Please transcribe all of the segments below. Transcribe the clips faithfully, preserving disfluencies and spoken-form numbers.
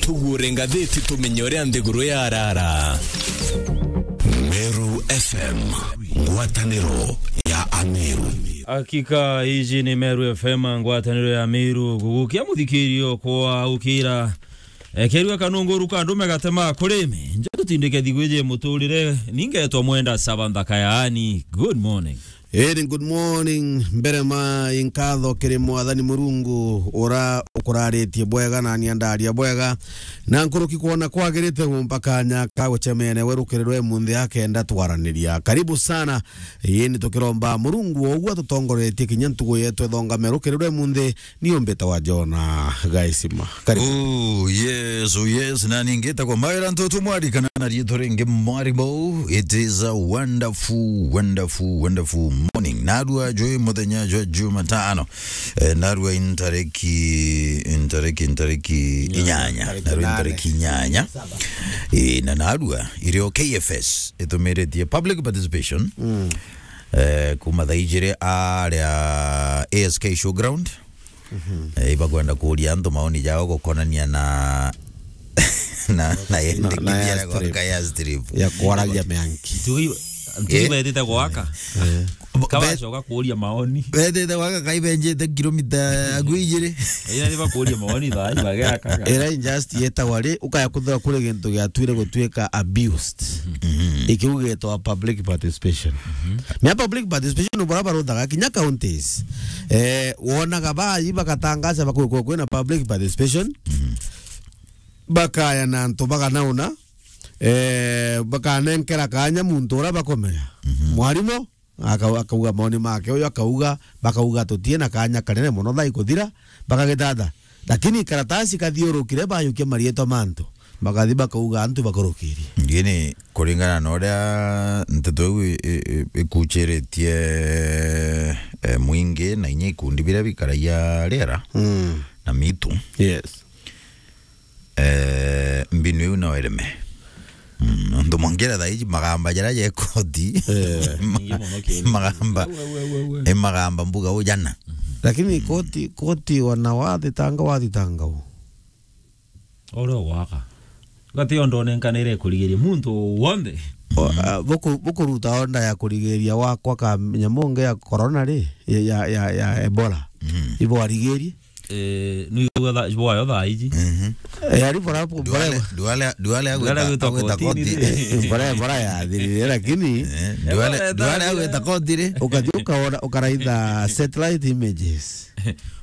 Tugure ngathiti tumenye uria nthiguru yarara. Meru F M, ngwataniro ya Ameru. Hakika, iji ni Meru F M, ngwataniro ya Meru. Gugukia muthikirio kwa ukira. Ekerua kanunguru ka ndume gatema kurimi. Nja tutindike thigwiji muturire, ningetwa Mwenda Saba Nthaka yaani. Good morning. Iri, good morning. Mbere ma inkatho kiri Mwathani Murungu, ura ukuraritie bwega na ni andaria bwega, na nkuruki kwona kwagirite gumpa kanya ka gucemene we rukiri rwe munthi akenda twaraniria. Karibu sana. Ii, ni tukiromba Murungu o uguo atutongoretie kinya ntugu yetu ethongame rukiri rwe munthi. Ni umbite wa Jona Gaisima. Karibu. Oh, yes, oh, yes. Na ningi ta kwa mawira ntutu mwari kana na riitwa ringi mwari bou. It is a wonderful, wonderful, wonderful morning. Narua jwi muthenya jwa Jumatano. Eh, narua intareki, intareki, intareki inyanya. Narua intareki inyanya. Eh, na narua irio K F S itumiritie public participation. Mm. Eh, kuma thaa ijiri aria A S K Showground. Mhm. Eh, ibakwenda kuuria antu maoni jao gukonania na, na, na yendekithia ya strip. Ya kwaragia mianki. Ntugi, ntugi betite gwaka. Eh. Kabacoka kuuria maoni. Betite gwaka kai benjite kilomita ya ngui ijiri. Ira ni bakuuria maoni thaa ibageakaga. Ira injustice yetagwa ri, ukaya kuthira kuri gintu giatuire gutuika abused. Mhm. Ikiu gitwa public participation. Mhm. Mia public participation ubara baruthaga kinya counties. Eh, wonaga bai bagatangaza bakwe kwina public participation. Mhm. Bakaya na antu baganauna. Eh, bakanenkera kanya muntu ura bakomenya. Mhm. Mwarimu aka-, akauga maoni make, uyu akauga, bakauga tutie na kanya kanene mono thaa ikuthira, bakagithatha. Lakini karatasi kathiurukire, bayukia marietwa mantu, bakathi bakauga antu bakurukirie. Ngini kuringana na uria nteto iu i-, i-, i-, ikuchiritie, eh, mwingi na inya ikundi biria bikaragia riera. Mm. Na mitu. Yes. Eh, mbinu iu no ireme. Mm, nontu mwangira thaa iji magamba jaria ja koti. Eh. Nyingi mono kiu. Magamba. We, we, we, we. E magamba mbuga ujana. Lakini koti, koti wana wathitanga, wathitanga u. Ore waka. Gati ondo nenkanire kurigiria muntu wonthe. O, a, buku-, bukuruta onda ya kurigiria wakwa ka nyamu nge ya corona ri, ya, ya, ya, ya Ebola. Mm. Ibo arigirie. Eh, ni uga tha-, bwayo thaa iji. Mhm. Eh, ari bora, bora, Duale, Duale, Duale Duale agwita, agwita agwita kotini koti. Ri. Bora, bora ya thirire, lakini Eh, Duale, Duale agwita koti ri. Ukathi ukaona, ukaraitha satellite images.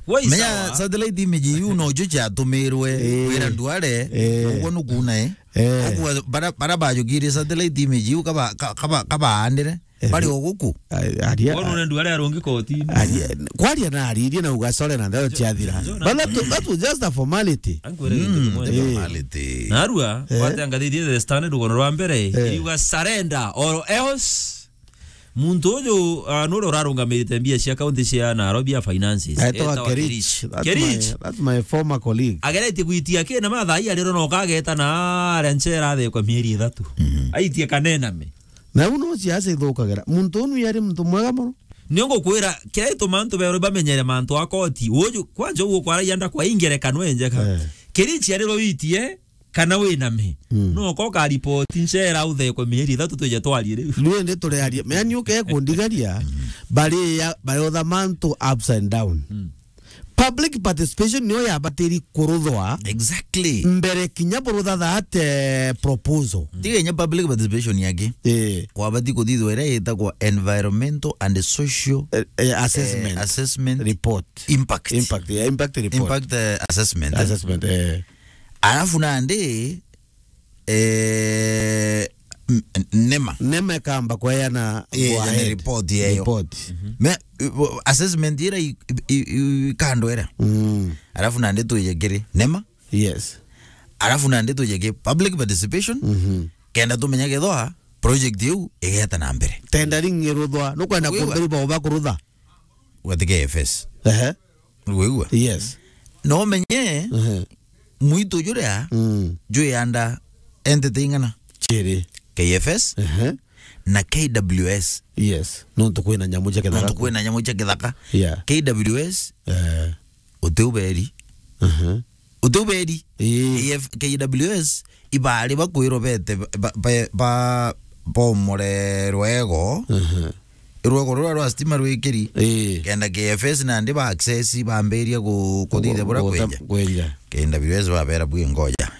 Wai menya sawa. Satellite image iu no cio ciatumirwe Eh. Kwira Duale, Eh. Uguo nukuuna, eh. Eh. Koguo bara, bara bajukirie satellite image iu kaba, ka-, kaba, kabaandire. Eh, bari o guku. A-, aria, Bono nende aria arungi kotini. Aria, kwaria na aririe na ugasore na ndero ciathira. But that, that was just a formality. Ankwere gintu Mm. Kimwe. Eh. Formality. Narua, Eh. Watangathithie The Standard rugono rwa mbere, Eh. Iriuga surrender or else. Muntu uyu, ah, nuri urarungamirite mbia cia kaunti cia Nairobi ya finances. Aitwa Etagwa Kerich. Kerich. That's Kerich. My, that's my former colleague. Ageretie gwitia kina mathaa ii ariro no kageta na aria nchera athekwa mieri ithatu. Mhm. Aitie kanename. Na u no ciaca ithukagira. Muntu unu yari muntu mwega mono. Nio ngukwira, kiria gituma antu berwe bamenyere mantu a koti. Uju, kwanja uguo kwaragia nda kwa ingerekano enjeka. Eh. Kirichi ari rwitie, kana winame. Mm. No ko ka report nchera uthekwe mieri ithatu twije twarie riu. Riu ndi turearia. Mea ni uke kundigaria, bari ya, bari other mantu ups and down. Mm. Public participation niyo yabatiri kuruthwa. Exactly. Mbere kinya burutha that, eh, proposal. Tiga inya public participation yake. Eh. Kwabati kuthithwa iria itagwa environmental and social, eh, eh, assessment. Eh, assessment. Report. Impact. Impact, yeah, impact report. Impact, eh, assessment. Assessment, eh. Alafu nandi, eh, m-, nema. Nema ikamba kweana Eh, go yani ahead. Report yeyo. Report. Mhm. Me, uh, assessment ira i, i, i, i kando ira. Mm. Alafu nandi twije kiri nema. Yes. Alafu nandi twije ki public participation. Mhm. Kenda tumenya kethwa project iu igeta na mbere. Tendering iruthwa, nukwenda Wigua? Kuthuri bao bakurutha. Gati K F S. Ehe. Wigua? Yes. No menye, ehe, mwitu juria, mm, jwi under entity ing'ana? Chiri. K F S, ehe, na K W S. Yes. Nontu kwina nyamu cia kithaka. Nontu kwina nyamu cia kithaka. Yeah. K W S, eh, uti uberi. Ehe. Uti uberi. Ii. K F, K W S, ibari bakwirwo bete ba, ba, ba, bomore rwego. Aha. Rwego ruria rwa stima rwikiri. Ii. Kenda K F S nandi ba access bambiria ku-, kuthithia bura kwenja. Kwenja. K W S babera bwi ngoja.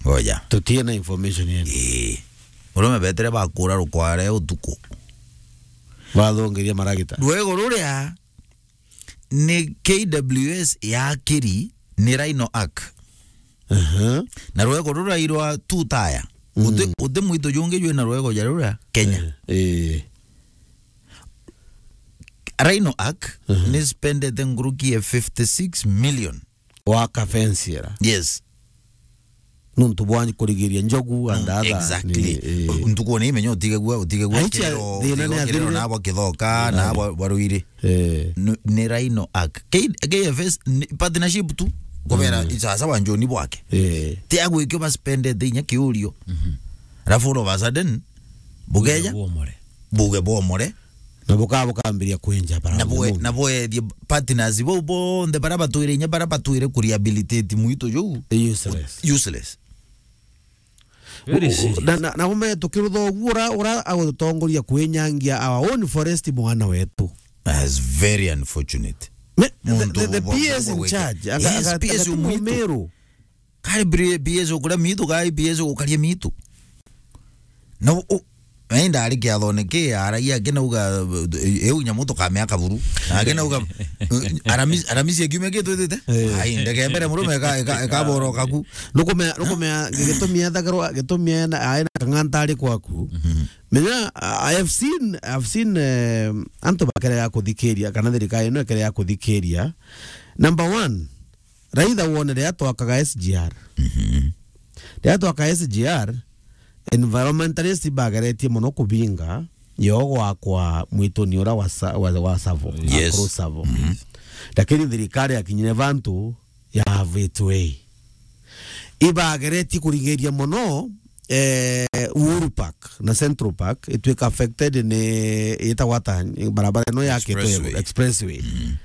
Ngoja. Tutie na information yenu. Ii. Urume betere bakura rukware utuku. Bathongeria maragita. Rwego ruria ni K W S yakiri ni Rhino Arc. Aha. Na rwego ruria irwa two tire. Mm. Uti, uti mwito jungi jwina rwego ja ruria Kenya. Eh, eh. Rhino Arc, mhm, ni spendete nguruki ya fifty six million. Waka fence era. Yes. Nuntu bwa kurigiria njogu and other. Exactly. Ni, eh. Ntuku ni imenya utigagua, utigagua. Aicha, kirero, thina ni utigagua kirero athirire. Na bwa kithoka, na bwa, bwa ruiri. Eh. Ni, ni Rhino Arc. K-, K F S ni partnership tu. Kubera, mm, isasa wa njoni bwake. Eh. Ti agwikio ba spendete inya kiurio. Mhm. Alafu all of a sudden, bugeja, buge bomore. Buge bomore. Na buka-, bukambiria kwenja bara. Na bwe-, na bwethie partners bau bonthe bara batwire inya bara batwire ku rehabilitate mwito juu. Useless. Useless. Very serious. Na, na, na ume tukirutha uguo ura, ura agutongoria kwinyangia our own forest mwana wetu. That's very unfortunate. Me-, the, the, the P S in charge, anga-, yes, anga-, P S anga-, mwito. Mumiru. Kari bri-, P S ukuria mitu, kari P S ukaria mitu. Na u-, u-, na indari kiathone ki, aragia akinauga, "Eu nyamu tukamea kaburu." Na akinauga, "Aramisi, aramisi ya kiumia ki twitite?" Eh. Ai, ndege mbere murume eka, eka, ekaboroka ku. Nukumea, nukumea, gitumi ethagirwa, gitumi ena, aina kang'antari kwaku. Mhm. Menya, I have seen, I've seen, eh, antu bakerega kuthikiria, kana thirikari ino ikerega kuthikiria. Number one, Raitha wone riria twakaga S G R. Mhm. Riria twaka S G R, environmentalist bageretie mono kubinga yo gwakwa mwituni ura wa sa-, wa, wa Savo, yes, Akuru Savo. Mhm. Lakini thirikari yakinyire vantu ya have it way. Ibageretie kurigiria mono, eh, Uhuru Park na Central Park itwika affected ni, itagwa ata, barabara ino yakitwe Expressway. Expressway. Mm.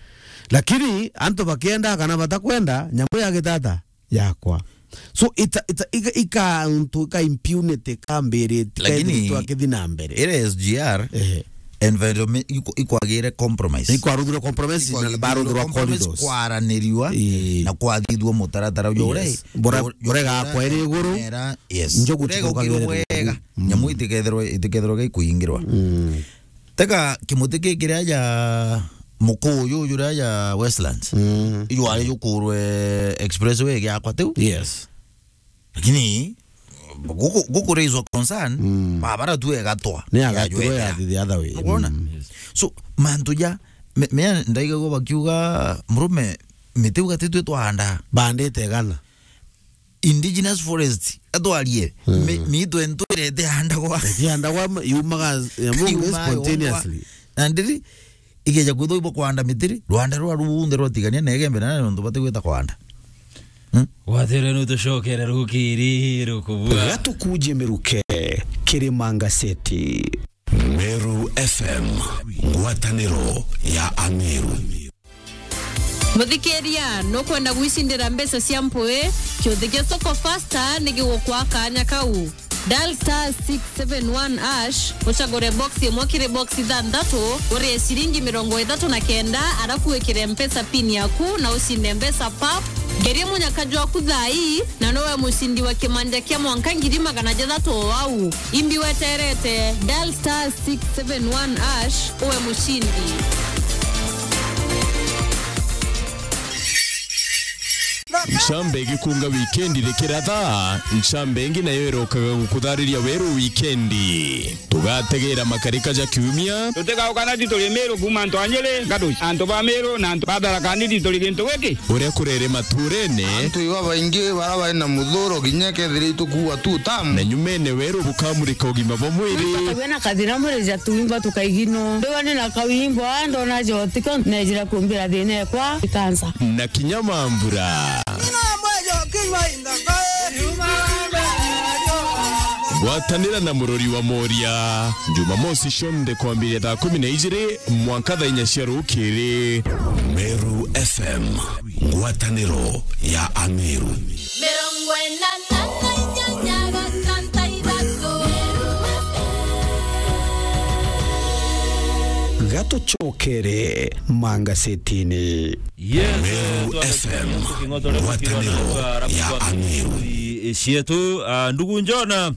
Lakini antu bakienda kana batakwenda, nyamu yagita ata? Yakwa. So, ita, ita, ika, ika, untu, ika impunity, ikambirite, lakini ikaithitwa akithi na mbere. Ira S G R, ehe, environment, iko-, ikwagire compromise. Ikwaruthirwa compromise, na baruthirwa compromise, corridors. Kwaraniriwa, ii, na kwathithua mutaratara uju ure, yes, bura-, bura-, bura igakwa iri iguru, era, yes, njogu bura igukirwe bwega, mm, nyamu itikethirwe, itikethirwe gikuingirwa. Mm. Teka kimuti ki kiria ja Mukuyu juria ja Westlands. Mm. Ijwari jukurwe expressway giakwa tiu. Yes. Lakini guku, guku raise a concern, mm, babara tu egatwa. Ni agatirwo ya the other way. Ukwona? Mm. So, mantu ja, me, me ndaigagua bakiuga, "Murume, miti uga ti twi twahanda." Bandite igana. Indigenous forest, atwarie, mm, mi, mitu entu irete handagwa. Itihandagwa, yumaga, yamunge. Yumaga spontaneously. Na ndiri, igeja kwithwa ibo kwanda mitiri, rwanda rwa runthe rwatigania na Igembe na nontu batigwita kwanda. Hmm? Gwatire nutucokere rukiri rukubua. Gatukuje miruke, Kirima Ngaseti. Meru F M, ngwataniro ya Ameru. Muthikiria, nukwenda gwicindira mbeca cia mpui? Kiuthi kia Soko Fasta ni gigukwa kanya kau. Dial star six seven one hash, ucagure box imwe kiri box ithanthatu, urie ciringi mirongo ithatu na kenda, arafu wikire Mpesa pin yaku na ucinde mbeca pap. Ngeria munyaka jwaku thaa ii, na nowe mucindi wa kimanja kia mwanka ngiri magana jathatu o au. Imbi weterete, dial star six seven one hash, uwe mucindi. Ncambe igikunga wikendi rikiratha, ncambe ingi nayo irokaga gukuthariria weru wikendi. Tugategera makarika ja kiumia. Tutigauka na tituri Miru kuuma antu a Nyeri, Ngatuci, antu ba Miru na antu ba Tharaka Nithi turi gintu giki. Uria kurere maturene. Antu iba baingi bara bari na muthuro kinya kethira itukuua tu tamu. Na nyumene weru bukamurika ugima bwa mwiri. Tukagua na kathina mwiri ja tuimba tukaigino. Ndiwa ni na kawimbo, a ndona jotiko, nejira kumbira thina ekwa ikansa. Na kinya mambura. Gwatanira na murori wa Moria, Jumamosi cionthe kwambiria thaa kumi na ijiri mwanka thaa inya cia rukiri. Meru F M, Ngwataniro ya Ameru. Mirongo ina na inyanya gatanta ithatu. Gatucokere mangasetini. Yes, Meru eh, F M, twathikiriria tuking'otorera ngwataniro tuking'otorera ya arabu Ameru. Twi-, cietu, ah, ndugu Njona,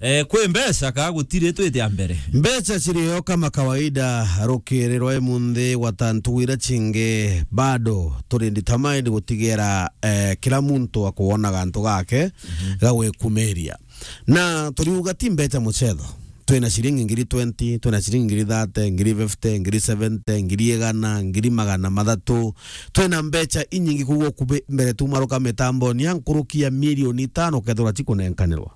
eh, kwi mbeca ka gutiri twite a mbere? Mbeca cirio kama kawaida, rukiri rwa imunthi gwata ntugu iria cingi, bado turi determined gutigera, eh, kila muntu akuona gantu gake, mhm, ga gwikumiria. Na turiuga ti mbeca mucetho. Twina ciringi ngiri twenty, twina ciringi ngiri thirty, ngiri fifty, ngiri seventy, ngiri igana, ngiri magana mathatu. Twina mbeca inyingi, koguo kubi mbere tumaruka mitamboni ya nkuruki ya milioni itano ukethirwa cikunenkanirwa.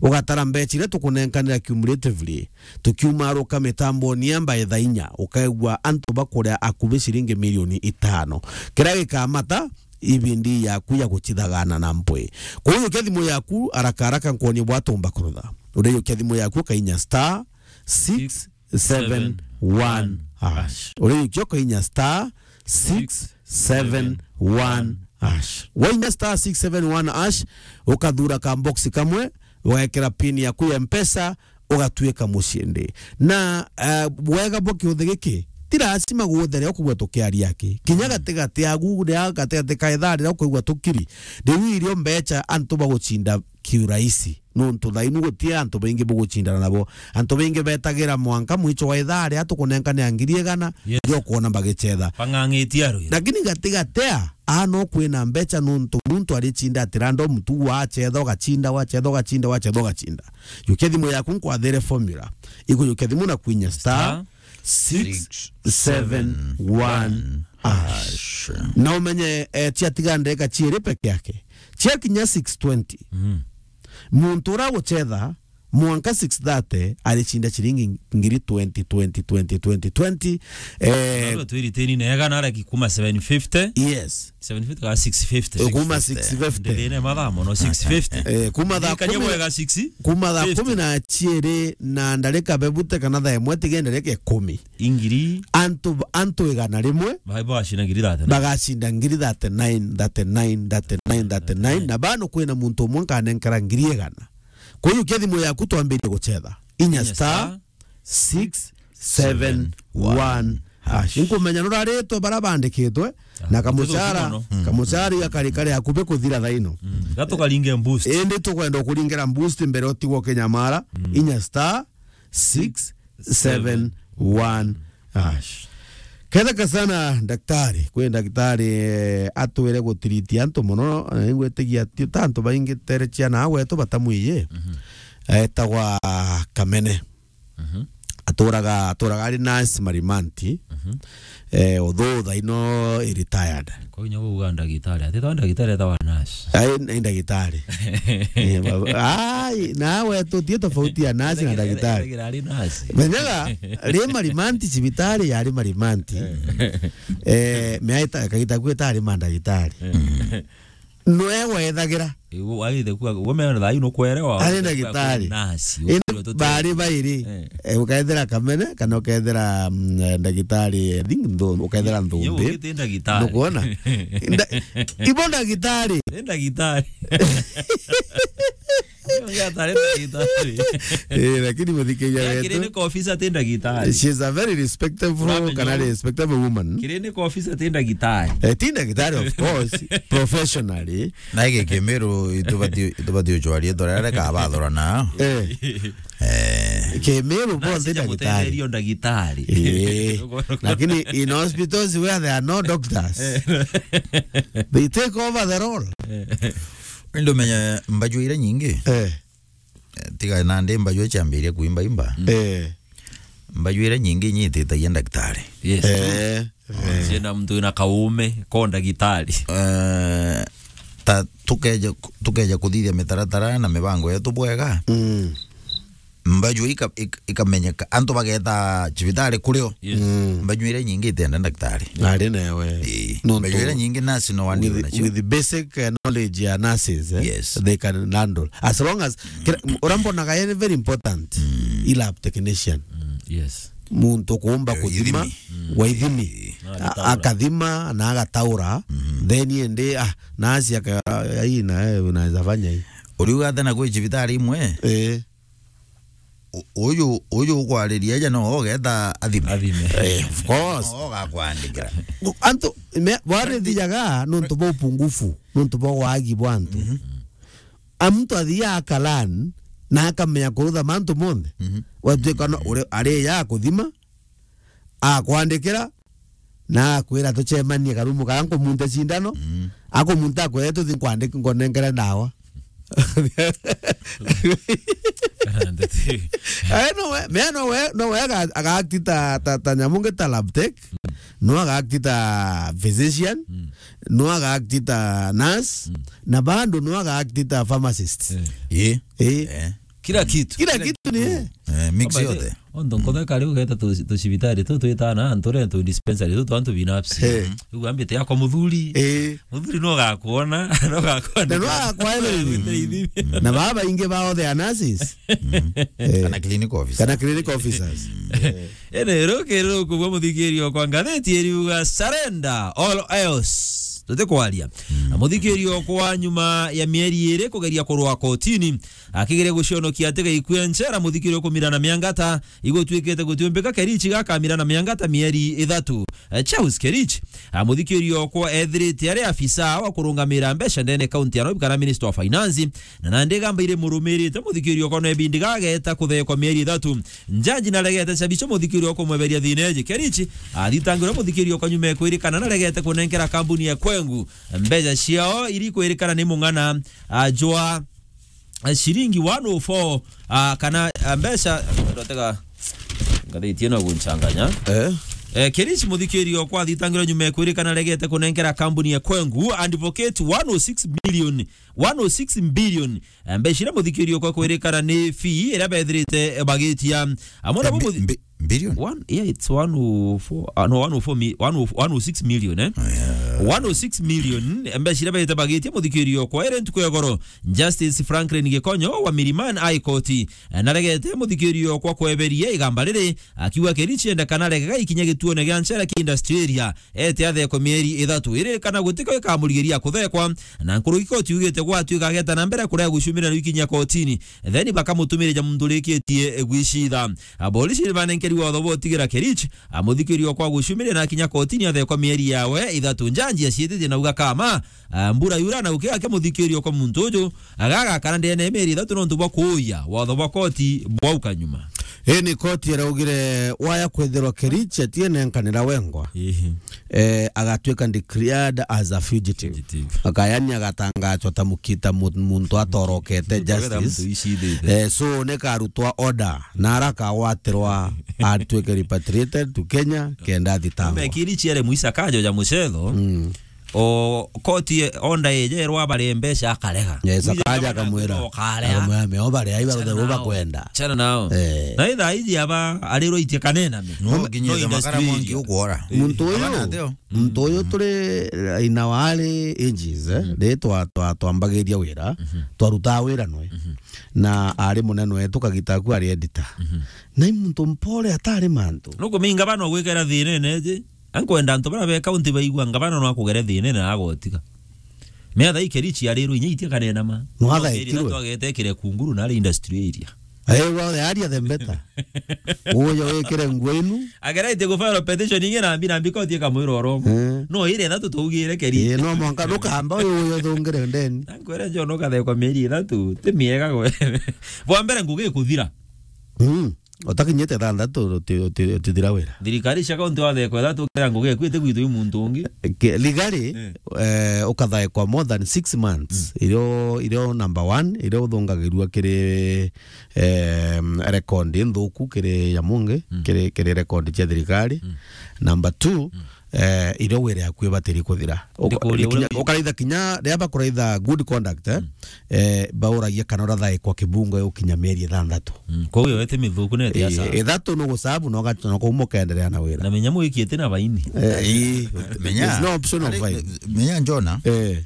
Ugatara mbeca iria tukunenkanira cumulatively, tukiumaruka mitamboni ya mbae thaa inya, ukaigua antu bakuria akubi ciringi milioni itano. Kiria gikamata ibindi yaku ya gucithagana na mpwi. Kuiyukia thimu yaku haraka haraka, nkwonie bwatumba kurutha. Uriiyukia thimu yaku ukainya star six seven one hash. Uriiyukia ukainya star six seven one hash. Wainya star six seven one hash, ukathura ka box kamwe, ugekira pin yaku ya Mpesa, ugatuika mucindi. Na, eh, bwega bwa kiuthi giki, ti lazima guothe ria ukugua tukiaria aki. Kinya gatigati agu, ria gatigati ka ithaa riria ukwigua tukiri, riu irio mbeca antu bagucinda kiuraisi. Nontu thainu guti antu baingi bugucindana nabo. Antu baingi betagira mwanka mwicho wa ithaa ria tukunenkanira ngiri igana, yes, rio kwona bagicetha. Bang'ang'itie arwira. Lakini gatigati a, a no kwina mbeca nontu muntu aricinda ati rando mutugu wacetha, ugacinda, wacetha, ugacinda, wacetha, ugacinda. Yukia thimu yaku nkwathire formula. Ikuyukia thimu na kwinya star six seven one hash. Na umenye, eh, ciatiga ndagika ciiri peke yake. Ciakinya six twenty. Mhm. Muntu uria gucetha mwanka six thirty aricinda ciringi ngiri twenty, twenty, twenty, twenty, twenty. Eh, twiri teni na ega na araki kuma seven fifty. Yes. Seven fifty ka six fifty. Eh, kuma six fifty. Ndithine mathaa mono, six fifty. Eh, kuma thaa kumi bwega six fifty. Kuma thaa kumi na ciiri na ndarika bebute kana thaa imwe tige ndarika ikumi. Ingiri. Antu, antu igana rimwe. Bai bacina ngiri thirty-nine. Bagacinda ngiri thirty-nine, thirty-nine, thirty-nine, thirty-nine. Na bano kwina muntu umwe nkanenkera ngiri igana. Kwa hiyo, kia thimu yaku twambirie gucetha. Inya star six seven one hash. Nkumenya nuraritwe bara bandikitwe, na kamucara, kamucara iga kari kari akubi kuthira thaino. Mm. Gatukaringe boost. Indi tukwenda kuringira boost mbere utigwo kinyamara. Mm. Inya star six seven one hash. Ketheka sana, daktari, kwi daktari, eh, atwire gutiriti antu mono, eh, ingwitigia ti ta antu baingi tere ciana agwetu batamwiye. Mhm. Etagwa Kamene. Mhm. Aturaga, aturaga ari nurse Marimanti. Mhm. Eh, although thaino i retired. Kwa hinya kuuga ndagitari. Ati twa ndagitari etawa nurse. Ai, ni ndagitari. Eh, ba-, ai, nawe tutie tofauti ya nurse na ndagitari. Etagira ari nurse. Menyaga, ri Marimanti cibitari yari Marimanti. Eh. Eh, miaita, kagita kwita ari mandagitari. Eh. Nwe wethagira. Igu, agithe kuga, uguo mena thayu nukwerewa. Ari ndagitari. Nasi, indi uguo tuti- bari bairi. Eh. Eh, ukethira Kamene, kana ukethira, mm, eh, ndagitari, I think Nthu-, ukethira Nthumbi. Yo, ugite ndagitari. Nukwona? Nda-, ibo ndagitari. Ni ndagitari. Uyu atari ndagitari. Eh, lakini muthikiria wetu. Clinical officer ti ndagitari. She is a very respectable, kana respectable woman. Clinical officer ti ndagitari. Eh, ti ndagitari, of course, professionally. Na giki Kimiru itubati, itubati ucwaria tora reka abathora na. Eh. Eh. Kimiru bonthe ndagitari. Mutetherio ndagitari. Eh. Lakini in hospitals where there are no doctors, eh, they take over the role. Eh. Indi umenye mbaju iria nyingi. Eh. Eh, tiga nandi mbaju ciambiria kuimba imba. Eh. Mbaju iria nyingi inyititagia ndagitari. Yes. Eh. Eh. Ciena muntu wina kaume ko ndagitari. Eh, ta tukeja, tukeja kuthithia mitaratara na mibango yetu bwega. Mm. Mbaju ika-, ik-, ikamenyeka. Antu bageta cibitari kurio. Yes. Mm. Mbaju iria nyingi itenda ndagitari. Ari newe. Ii. Nontu mbaju iria nyingi nurse no wandi with, nacio. With basic, eh, knowledge ya nurses, eh, yes, they can handle. As long as kira, uria mbonaga yani very important, mm, i lab technician. Mm, yes. muntu kuumba Eh, kuthima, ithimi. Mm. Wa ithimi. Eh. Na A-, agataura. Akathima na agataura, mhm, then ende, ah, nasi aka-, ai, na, eh, unaweza fanya hii. Uriuga athana kwi cibitari imwe? Eh. U-, uyu, uyu ukwariria aja no ugeta athime. Athime. Eh, of course. No ugakwandikira. Antu, me, bwarithijaga nontu bwa upungufu, nontu bwa wagi bwa antu. Mhm. A muntu athiaga akalan na akamenya kurutha mantu monthe. Mhm. Gwatuika no, uri, ari ya kuthima, akwandikira, na akwira tucemanie karumu kara nkumunte cindano, mm, akumunta akwira tuthi nkwandike nkonenkere ndawa. Kana ndeti. Eh, no we, me no we, no we aga-, agakti ta, ta, ta nyamu ngi ta lab tech, no agakti ta physician, mm, no agakti ta nurse, mm, na bado no agakti ta pharmacist. Eh. Ye. Eh. Eh. Kila kitu. Kila kitu ni yeye. Eh, mix yote. Ondo nkotheka riu geta tu, tu cibitari tu twitana antu re tu dispensary tu twantu binafsi. Eh. Riu ambite yako muthuri. Eh. Muthuri no gakuona, no gakuona. Na no gakwelewa. Na baba ingi bao the nurses. Mm. Eh. Kana clinic officer. Kana clinic officers. Ene ruki ruku bwa muthikiri okwa ngatheti eriuga surrender all else. Tutikwaria. Mm. Na muthikiri okwa nyuma ya mieri iri kugeria kurwa kotini, akigeria gucionokia atiga ikue nchera, muthikiri okumirana miangata, igutwikite gutiumbika Kerichi gakamirana miangata mieri ithatu. Eh, Charles Kerichi, a, muthikiri okwa ethirite ari afisa wa kurungamira mbeca ndene kaunti ya Nairobi kana Minister of Finance, na nandi gamba iri murumirite muthikiri okwa no ebindi gageta kuthekwa mieri ithatu. Njanji naregete cabico muthikiri okwa kumweberia thina eji. Kerichi athitangirwe muthikiri okwa nyuma ekwirikana naregete kunenkera kambuni ya Kwengu mbeca ciao iri kwirikana ni mung'ana, a, jwa, a, ciringi one oh four, a, kana, a, mbeca, ndotega, ngathiti ino gunchanganya. Eh? Eh, Kerichi muthikiri okwa athitangirwe nyuma ekwirikana aregete kunenkera kambuni ya Kwengu Advocate one oh six million, one oh six billion, eh, mbeca iria muthikiri okwa kwirikana ni fee iria bethirite, eh, bagitia. Amwe nabo. Eh, bi-, muthi- bi-, billion? One, yeah, it's one oh four, uh, no, one oh four mi-, one oh, one oh six million, eh? Oh, yeah. One oh six million, mbeca iria baite bagitie muthikiri okwa ere ntuku ya goro. Justice Franklin Gikonyo wa Milimani High Court, eh, naregete muthikiri okwa kweberia igamba riri, akiuga Kerichi enda kana regega ikinya gituone gia nchera ki industry area, ete athekwe mieri ithatu iri kana gutiko ikamurigiria kuthekwa, na nkuruki koti yugite gwatuika ageta na mbere kuria gucumira ikinya kotini, then bakamutumirija muntu urikitie gwicitha. Aborisi ni banenkeri watho bwa utigira Kerichi, a, muthikiri okwa gucumiria na akinya kotini athekwa mieri yawe ithatu. Njanji aciititie na uga kama, a, mbura yura na ukiga ke muthikiri okwa muntu uju, agagakara ndene ya mieri ithatu nontu bwa kuuya watho bwa koti bwauka nyuma. Ii ni koti iraugire waya kwithirwa Kerichi atienenkanira wengwa. Ihi. Eh, agatuika declared as a fugitive. Fugitive. Akayani agatangazwa ta mukita mu-, muntu atorokete. Muntu agetha justice. Muntu wicithite. Eh, so ni karutwa order na ara akagwatirwa atuike repatriated to Kenya kenda athitangwa. Mekiri ciere muisa kajo ja mucetho. Mm. O koti onda eje erwa bare mbeca akarega. Yes, akaja akamwira. Ukarega. Akamwira, "Me obare, aiba. Chana nao. Bakwenda." Chana nao. Eh. Na itha iji aba arirwo itie kanena me. No, no, nginya no industry makara mwangi area. Ukwora. Muntu uyu, abana ateo. Muntu uyu turi in our early ages, eh, mm, ri twa, twa, twambagiria wira, mhm, twarutaa wira nwe. Mhm. Na ari munene wetu kagita aku ari editor. Mhm. Na i muntu mpore atari mantu. Nukuminga bana gwikera thina ene iji. Ankwenda antu bara be county baigua ngabana no akugere thina na agotiga. Metha i Kerichi arirwo inya itia kanena ma. No athaikirwe. Twagete kire kunguru na ari industry area. Eh, well, the earlier the better. Uyo wikire nguo inu. Ageretie ku file petition ingi na mbi na mbi koti ikamwira oro. Eh. No ire ithatu tuugire Kerichi. Eh, no mwanka ndukamba uyu uyo thungire ndeni. Ankwere njo no kathekwa mieri ithatu, ti miega gwe. Bwa mbere ngugi ikuthira. Mm. Utakinyite thanthatu uti-, uti-, utithira wira. Thirikari cia kaunti wathekwa ithatu kira ngugi eku itikwitwa i muntu ungi. Ke-, legally, eh, ukathaekwa more than six months. Mm. Irio, irio number one, irio uthungagirua kiri, eh, record nthuku kiri ya mungi, mm, kiri, kiri record cia thirikari. Mm. Number two, mm, eh, irio wira yaku ibatiri kuthira. Uka-, ndikuria kinya, uria ukaraitha kinya, ria bakuraitha good conduct, eh, mm, eh, bauragia kana urathaikwa kibungo ukinya mieri ithanthatu. Mm, kwa hiyo ete mithuku na ete. Eh, asa. Ithatu no gusabu no gacho no kuuma ukenderea na wira. Na menya mwiki ete na baini. Eh, ii. Menya. There's no option of baini. Menya Jona. Eh.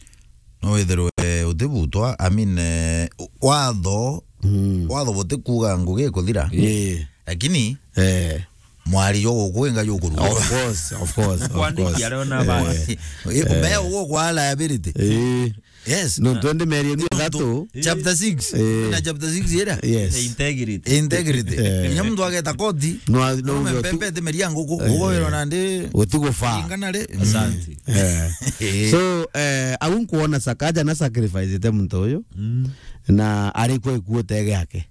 No withirwe utibutwa, I mean, eh, watho, mm, watho butikuga ngugi ikuthira. Eh. Lakini, eh, Mwari jo guku inga jo kuru. Of course, of course, of Kwandiki course. Arona ba. Eh, Ikumea ugo kwa liability. Eh. Yes. No, twende meri ni Nontu thatu. Chapter six. Eh. Na chapter six ira. Yes. Integrity. Integrity. Eh. Inya muntu ageta koti. No, no, Ume no, mpempe te meria nguku. Eh. Ugo wero nandi. Utigufaa. Ingana ri. Asante. Eh. Eh. So, eh, au nkuona Sakaja na sacrifice te muntu uyu. Mm. Na ari kwe kuote giake.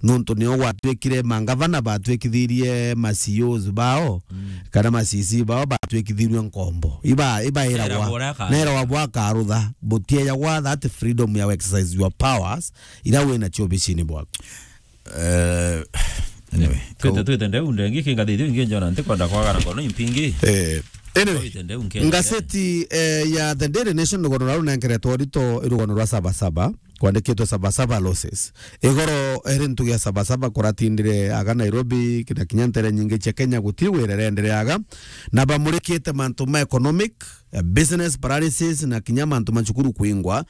Nontu nio gwatuikire mangavana batuikithirie ma C E Os bao, mm, kana ma C C bao batuikithirue nkombo. Iba, ibairagwa. Eragwa uria aka- Neragwa bwakarutha, butiejagwa that freedom ya exercise your powers, ira wina cio obicini bwaku. Eh, anyway, twite, ko- twite ndeu ndengi kingathithio ingi njona ntikwenda kwagana ngono impingi. Eh, anyway, twite ndeu nkenye. Ngaseti, eh, ya The Daily Nation rugono rau nenkeretwo rito irugono rwa Saba Saba. Kwandikitwe Saba Saba losses. Igoro eri ntugi ya Saba Saba kuratindire aga Nairobi, kina kinya ntere nyingi cia Kenya guti wira irendereaga. Na bamurikite mantu ma economic, eh, business paralysis na kinya mantu ma cukuru kwingwa.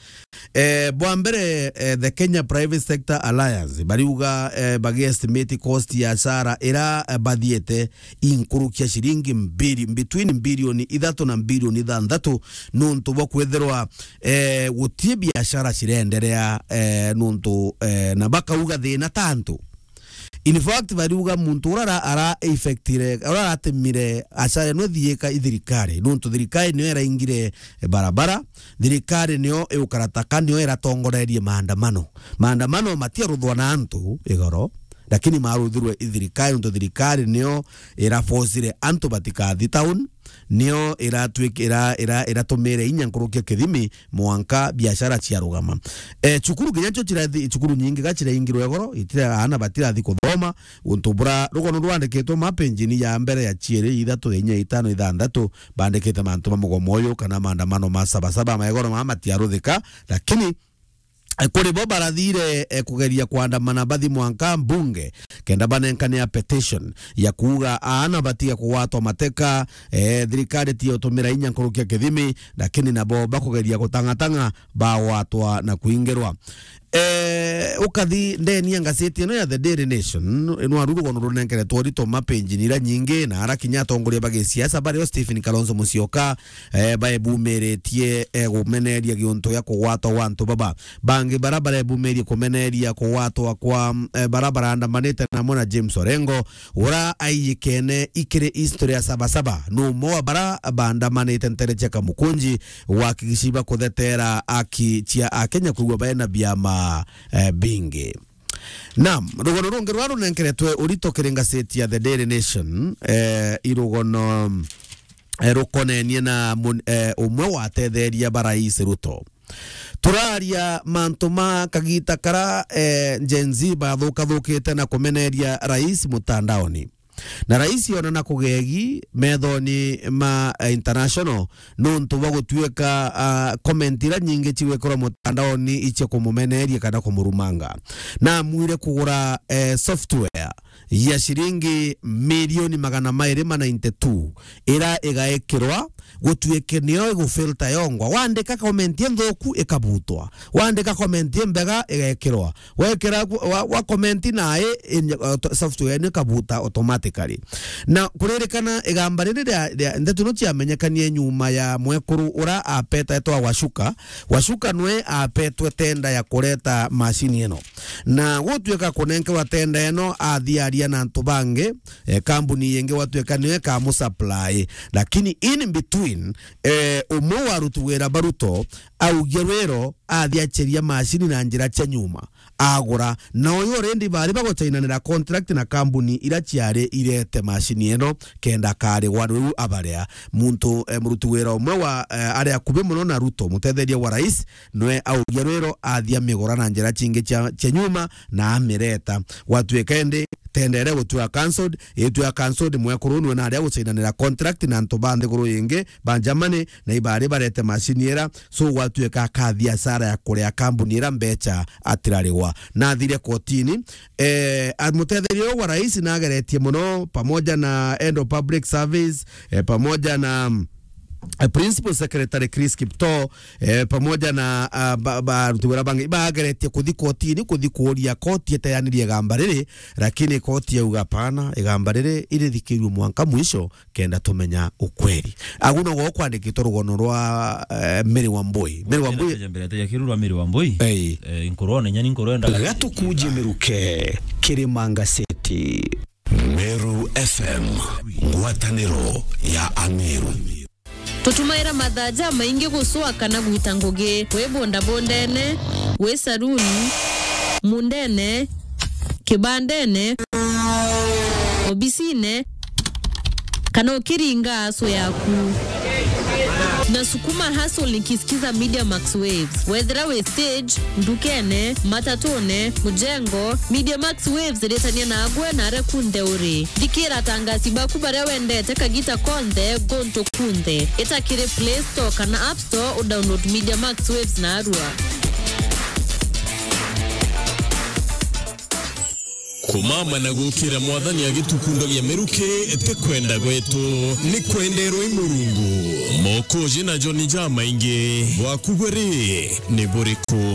Eh, bwa mbere, eh, the Kenya Private Sector Alliance, bariuga, eh, bagi estimate cost ya acara ira, eh, bathiete inkurukia ciringi mbiri-, between mbirioni ithatu na mbirioni ithanthatu, nuntu bwa kwithirwa eh, guti biashara cirenderea, eh, nuntu, eh, na bakauga thina ta antu. In fact, bariuga muntu ura ara, ara affectire, ura aratemire acara ino thiika i thirikari, nuntu thirikari nio iraingire, eh, barabara, thirikari nio iukarataka, nio iratongorerie maandamano. Maandamano matiaruthwa na antu igoro, lakini maruthirwe i thirikari, nuntu thirikari nio irafocire antu batikathi town, nio iratwik-, ira-, ira-, iratumire inya nkuruki ya kithimi mwanka biashara ciarugama. Eh, cukuru kinya cio cirathi, cukuru nyingi ga ciraingirwe igoro, itira-, aana batirathi kuthoma, untu bura rugono rwandikitwe mapenjini ya mbere, ya ciiri, ithatu, inya, itano, ithanthatu, bandikite mantu ma mugomo uyu kana maandamano ma Saba Saba, ma igoro mama matiaruthika, lakini Eh, kuri bo barathire, eh, kugeria kwandamana bathi mwanka mbunge, kenda banenkane a petition ya kuuga aana batiga kugwatwa mateka, eh, thirikari tiyo tumira inya nkuruki ya kithimi, lakini nabo bakugeria gutang'atang'a bagwatwa na kuingirwa. Eh, ukathi ndeni ya ngaseti ino ya The Daily Nation, ino aru rugono runenkeretwo rito mapenjini ira nyingi, na ara kinya atongoria ba gisiasa bario Stephen Kalonzo Musyoka, eh, baebumiritie, eh, gumeneria giuntu gia kugwatwa gwa antu baba. Bangi bara barebumirie kumeneria kugwatwa kwa, eh, bara barandamanite namo na James Orengo, ura aiyikene ikiri history ya Saba Saba. Ni umwe wa bara bandamanite ntere cia Kamukunji, wakigici ba kuthetera aki cia Akenya kwigua baena biama, eh, bingi. Naam, rugono rungi rwa runenkeretwe urito kiri ngaseti ya The Daily Nation, eh, irugono, eh, rukonenie na mun-, eh, umwe wa atetheria ba Rais Ruto. Turaria mantu ma kagita kara, eh, Gen Z bathukathukite na kumeneria rais mutandaoni. Na rais onana kugegi methoni ma, eh, international nuntu bwa gutuika, ah, comment ira nyingi cigwikirwa mutandaoni icia kumumeneria kana kumurumanga. Na amwire kugura, eh, software ya ciringi milioni magana mairi ma ninety two, ira igaikirwa gutuike niyo igufilter yongwa. Wandika comment inthuku, ikabutwa. Wandika comment imbega, igekirwa. Wekira ku-, wa, wa comment nae, in-, auto-, software ino ikabuta automatically. Na kuririkana igamba riri ria, ria ndeto ino ciamenyekanie nyuma ya mwekuru ura apeta etwa Washuka. Washuka nwe apetwe tenda ya kureta macini ino. Na gutuika kunenkerwa tenda ino, athi aria na antu bangi, eh, kambuni ingi gwatuika niyo ikamusupply. Lakini in between, eh, umwe wa aruti wira ba Ruto augie rwiro athi acheria macini na njira cia nyuma, agura. Na uyu already bari baguchainanira contract na kambuni ira ciari irete macini ino, kenda akarigwa riu abaria. Muntu, eh, muruti wira umwe wa, eh, ari akubi muno na Ruto, mutetheria wa rais, nwe augia rwiro athi amigura na njira cingi cia, cia nyuma na amireta. Gwatuika indi tenda iria gutua cancelled, itua cancelled, mwekuru nwe naria guchainanira contract na antu ba nthiguru ingi ba Germany, na ibari barete macini ira, so gwatuika akathi hasara ya kuria kambuni ira mbecha atirarigwa. Na athire kotini, eh, a-, mutetheria uyu wa rais nageretie muno, pamoja na head of public service, eh, pamoja na, mm, eh, Principal Secretary Chris Kiptoo, eh, pamoja na, ah, ba, ba, aruti wira bangi, bageretie kuthi kotini, kuthi kuuria koti iteanirie igamba riri, lakini koti yauga, "Hapana, igamba riri irithikirue mwanka mwisho, kenda tumenya ukweli." Agu nogo kwandikitwe rugono rwa, eh, Mary Wambui. Mary Wambui. Mbere ya kirurwa Mary Wambui. Ei. Eh, nkorwo ne nyani nkorwo enda. Gatukuje miruke, Kirima Ngaseti. Meru F M, ngwataniro ya Ameru. Tutumaira mathaa jamaingi gucwa kana gwita ngugi, wi bondabondene, wi saruni, mundene, kibandene, obisine, kana ukiringa aso yaku. Nasukuma hustle nikisikiza Media Max Waves. Wethira wi stage, ndukene, matatune, mujengo, Media Max Waves iritania nagwe na aria kunthe uri. Thikira atangasi baku baria wendete kagita konthe, guntu kunthe. Ita kiri Play Store kana App Store, udownload Media Max Waves narua. Kumama na gukira Mwathani agitukundagia miruki ti kwenda gwetu, ni kwenderwa i Murungu. Mokoji na John jamaingi, bwaku bwe ri ni buriku?